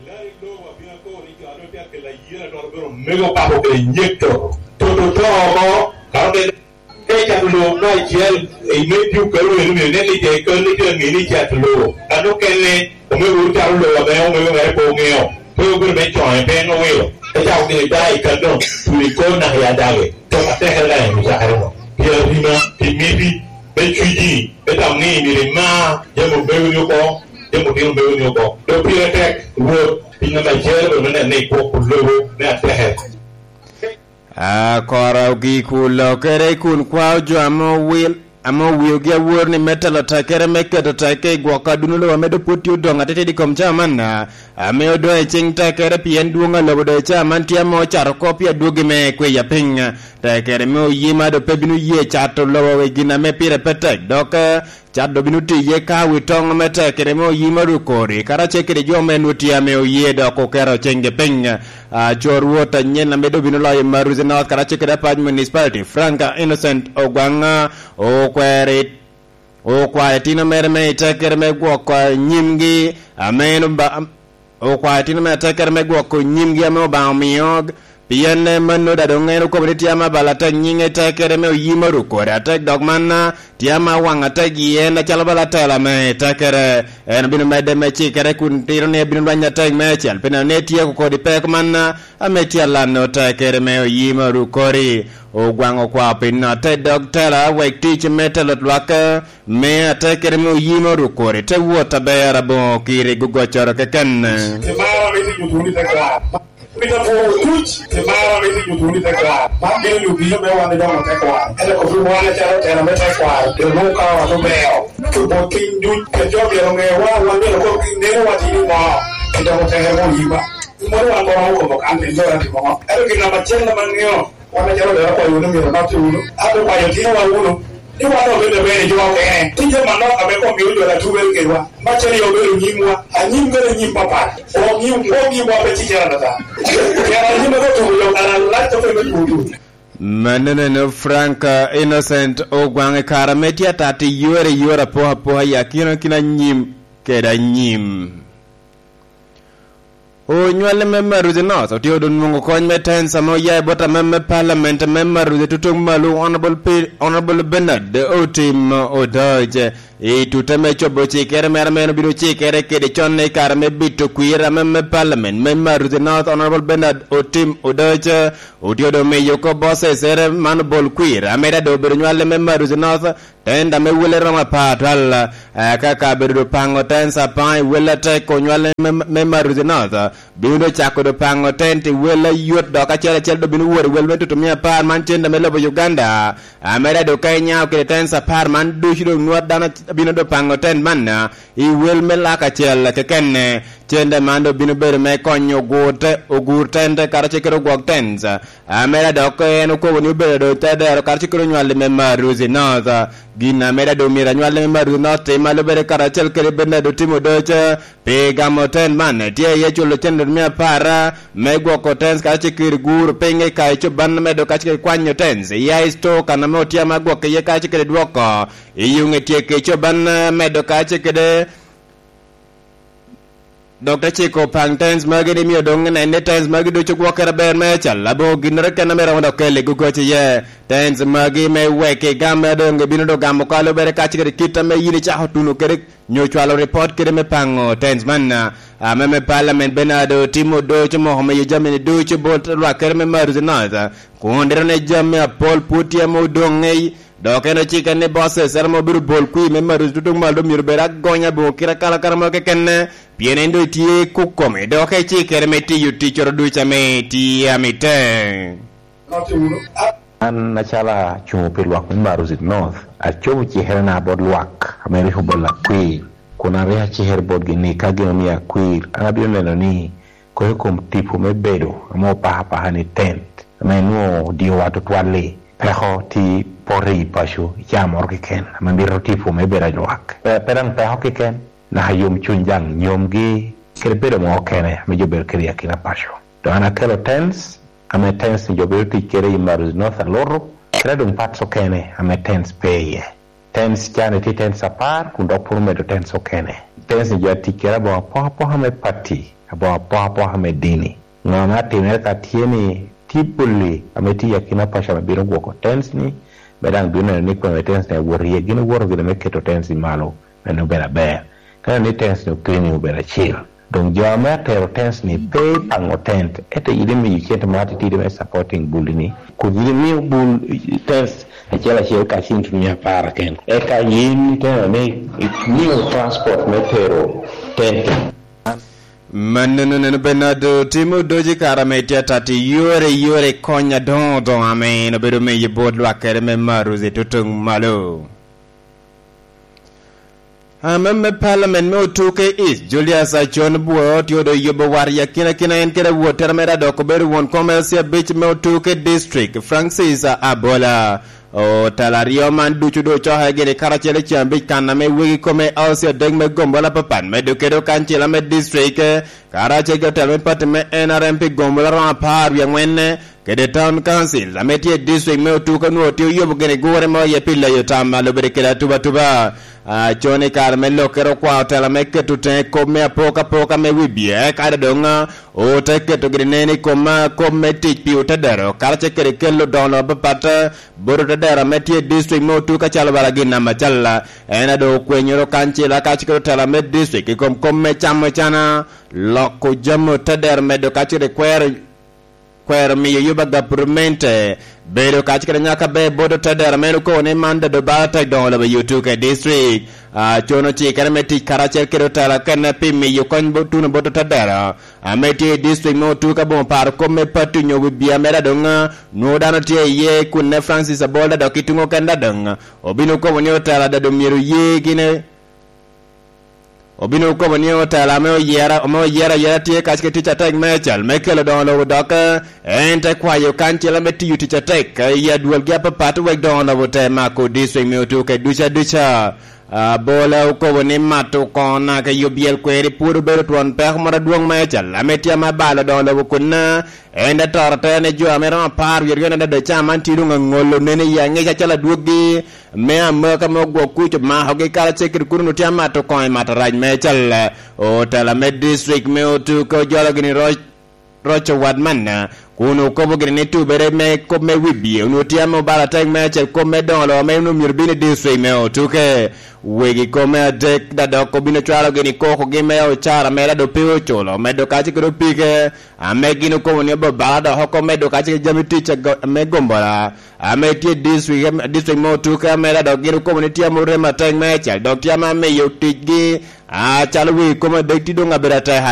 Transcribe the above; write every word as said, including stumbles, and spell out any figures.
Larry Lobo abino akor ni jo ame otye akelo ayela dok obedo omego papo kede nyeko. Toto to oko, ka oneno te cato lobo me acel, i me tio kelo eno myero inen ni jo i kal ni tye aŋe ni cato lobo. Kan okene, omego ocato lobo ame omego mere pe oŋeo. Pe obedo me coŋe, pe en owilo. Te cako gire da i kal doŋ, tuli kor naka i adage. Tok atekere ka en ocakere no. Pi arima, pi miti, me cwiji, me tam ni myero ima jami omego ni oko, jami otino omego ni oko. Dok pire tek, Rwot, piny namba acel, obedo me neno ni gwok lobo me atekere. Akoro gik olokere kun kwao jo ame owil, ame owiogi awor ni me telo tekere me keto teke i gwoko aduno lobo ame doŋ pwod tye odoŋ atitidi i kom cawa man, ame odoŋ i ciŋ tekere pien dwoŋ a lobo doŋ i cawa man tye ame ocato oko pi adwogi me kweya piny. Tekere me oyima doŋ pe bino ye cato lobo i gin ame pire pe tek, dok, eh, Cat doŋ bino tiye ka wi toŋ me tekere me oyima rukori, karacel kede jo me nwoŋo tye ame oye dok oketo ciŋgi piny. Ah, co Rwot anyen ame doŋ bino loyo Maruzi North karacel kede Apac Municipality, Frank Innocent Ogwang, okwero it-, okwayo itino mere me i tekere me gwoko nyimgi, ame en oba-, okwayo itino mere atekere me gwoko nyimgi ame Obaŋa omio, pien, eh, mano daŋ doŋ en okobo ni tye ame abalo atek nyiŋe tekere me oyima rukore atek, dok man, ah, tye ame awaŋ atek i en acalo bala atela me tekere. En obino medde me cikere kun tito ni ebino lweny atek meicel, pi neno ni etyeko kodi peko man, ah, ame tye alano tekere me oyima rukori. Ogwaŋ okwao pi notte dog tela wek tic me telo lwak, eh, me atekere me oyima rukore te wot aber aboŋo kiri gogoccoro keken. Imaro ame timo tuni te kwaro. Mito pwoo duc, imaro ame timo tuni te kwaro. Man bino lubino me wan idongo te kwaro. Ento kop wan acalo tela me te kwaro, bino nwoŋo ka wan obeo. Tubo piny duc, pi jo myero oŋe wa, wan myero kop neno wa tini mo. Idongo te mo yiba. Mono wan kono okobo kan piny jo atimo ŋo. Ento gin namba acel ame aŋeo, Wan acalo dero akwayo wunu myero onotte wunu, ato kwayo tinowa wunu, ni wan obedo ber i jo okene. Tye jo manok ame komgi oywero atugere kedwa, ma cen yo obedo nyimwa, anyim bedo nyim papat, oŋim, oŋimwa pe cikere adada. Pien anyim ame otubo jo kara lac ope me tutu. Mannono en Frank, eh, Innocent Ogwaŋ i kare ame tye atat i yore i yore apokapoka i akina kina anyim kede anyim. Onywale me Maruzi North otye odo nwoŋo kony me tens ame oya i bot amem me Parliament me Maruzi tutuŋ malo, Honorable Pe-, Honorable Bernard Otim Odoc. I tute me cobo cikere mere ame en obino cikere kede con i kare me bito kwir amem me Parliament me Maruzi North, Honorable Bernard Otim Odoc otye odo miyo oko bosses ere man obol kwir, ame daŋ doŋ obedo nywale me Maruzi North, Tenda me wele romo apar twal, eh, ka kabedo doŋ paŋo tens apaŋ i wel atek onywale me, me Maruzi North, bino doŋ cako doŋ paŋo tent i wel ayot dok acel acel doŋ bino wot i wel me tutu mia apar man tenda me lobo Uganda. Ameda doŋ ka inyao kede tens apar man ducu doŋ nwat dano bino doŋ paŋo tent man, ah, i wel me lak acel kekene. Tenda man doŋ bino bedo me konyo ogur te-, ogur tente karacel kede ogwok tens. Ameda dok en okobo ni obedo doŋ te dero karacel kede onywalli me Maruzi North. Gin ameda doŋ myero anywalli me Maruzi North tim a lubere karacel kede Bernardo Timodoc, pi gamo ten man, tye iye culo cente mia apar me gwoko tens karacel kede guro piny i kayo coban medo karacel kede kwanyo tens i high store kan ame otye ame agwokke iye karacel kede dwoko i yuŋ i tyeko coban medo karacel kede Dok te ciko paŋ tens magi ni mio doŋ nen ni tens magi ducu gwokere ber meicel, aboŋo ginnoro kene ame romo dok kelo i gogoc iye. Tens magi me wek igam me doŋ ibino doŋ gamo kalo bere kacel kede kit ame yin icako tuno kede nyo cwalo ripot kede me paŋo tens man, ame me Parliament Bernardo Timo Doc omoko miyo jami-ni ducu bot lwak kede me Maruzi North, kun dero ni jami apol pwod tye ame odoŋ i Dok en ocike ni bot Cesare ame obedo bol kwir me Maruzi tutuŋ malo myero bed agonya boŋo kite akalakala mo kekene, pien en doŋ tye i kukome, dok ecikere me tiyo ticcoro ducu ame tye amite. An acalo acuŋo pi lwak me Maruzi North, acobo cikerena bot lwak ame rik obolo akwir, kun an rik acikere botgi ni ka gin omio akwir, an abino neno ni Kono i kom tipo me bedo ame opako apaka ni tent, ame nwoŋo odiowa tutwal-li, peko tye poto i paco i caa moro keken, ame mito tipo me bedo anywak. Pe, pe daŋ peko keken, naka yomcuny daŋ nyomgi, kede bedo mo okene ame jo bedo kede i akina paco. Dok an akelo tents, ame tents-ni jo bedo tic kede i Maruzi North Alutu, kede doŋ parts okene ame tents pe iye. Tens can itye tens apar, kun dok pwod omedo tens okene. Tens-ni jo atic kede aboŋo apokapoka me pati, aboŋo apokapoka me dini. Ŋo ame atimere ka tye ni tye bulli ame tye i akina paco ame bino gwoko tents ni, me daŋ bino neno ni kwene tents ni awot iye, gin owoto gire me keto tents ni malo, meno obedo aber. Ka neno ni tents ni openyo obedo acel. Doŋ jo ame atero tents ni pe ipaŋo tent, ento yin imiyo cente mo atitidi me supporting bulli ni, kun yin imiyo bul tents acel acel ka cent mia apar keken. Eka yin iteno ni imiyo transport me tero tent. Mannono neno Bernardo timo doji kara me tye atatti yore yore kony adoŋo doŋo ame en obedo meyo bot lwak kede me Maruzi tutuŋ malo. Ame me Parliament me Otuke East, Julius Acon Bwoo, tye odo yubo war i akinakina en kede awottere mere a dok obedo won kom L C abic me Otuke District, Francis Abola. Otelo aryo man ducu doŋ ocoke gire karacel i ceng abic kan ame wegi kome L C adek me gombola apapat, medo kede okancila me district, karacel kede otelo me pati me N R M pi gombola romo apar wie aŋwen, kede Town Council ame tye i district me Otuke onwoŋo tye oyubo gire gure mo iye pi leyo tam a lubere kede atubatuba. Acon i kare me lokkere okwao tela me keto teŋe kop me apokapoka me wibye, kadi doŋ, ah, ote keto gire nen i kom, ah, kop me tic pi otedero, karacel kede kelo doŋo apapat, ah, bot otedero ame tye i district me Otuke acalo bala gin namba acel. En a doŋ okwenyoro kancila kacel kede otela me district i kom kop me camo cana, loko jami otedero medo kacel kede kwero kwero miyo yuba gapurmente bedo kacel kede nyaka ber bot otedero ame en okobo ni man dodo bala tek doŋo lobo i Otuke district. Acon ocikere me tic karacel kede otela okene pi miyo kony bo-, tuno bot otedero ame tye i district me Otuke aboŋo paro kop me pati onyo wibye mere adoŋ, ah, nwoŋo dano tye iye kunne Francis Abolda dok i tuŋ okene adoŋ obino kobo ni otela dodo myero ye gine Obino kobo ni otela ame oyera, ame oyera ayera tye kacel kede tic atek me cal me kelo doŋo lobo dok, eh, en te kwayo kancil ame tiyo tic atek, eh, i adwolgi apapat wek doŋo lobo te mako district me Otuke duca duca. Abola okobo ni mato koŋo naka i obyel kweri pwod obedo twon peko moro adwoŋ me cal ame tye ame abalo doŋo lobo kun, eh, en te toro te ni jo ame romo apar wie aryo nene doŋ ca man tye doŋ aŋolo nene i aŋec acalo adwoggi me amaka me ogwok kuc omakogi karacel kede kun onwoŋo tye amato koŋo i mato rac me cal. Otela me district me Otuke ojolo gini roc, roc owat manna, kun okobo gini ni tubere me kop me wibye onwoŋo tye ame obalo atek me acel kop me doŋo lobo ame onwoŋo myero bin i district me Otuke. Wegi kome adek da dok obino cwalo gini kokogi me ocara mere a doŋ pe oculo, medo kacel kede opike, ame gin okobo ni obabala dok oko medo kacel kede jami tic a go-, me gombola. Ame tye i district, district me Otuke, ame dok gin okobo ni tye ame orem atek meicel, dok tye ame amiyo ticgi, acalo wi kom adek tye doŋ abedo atek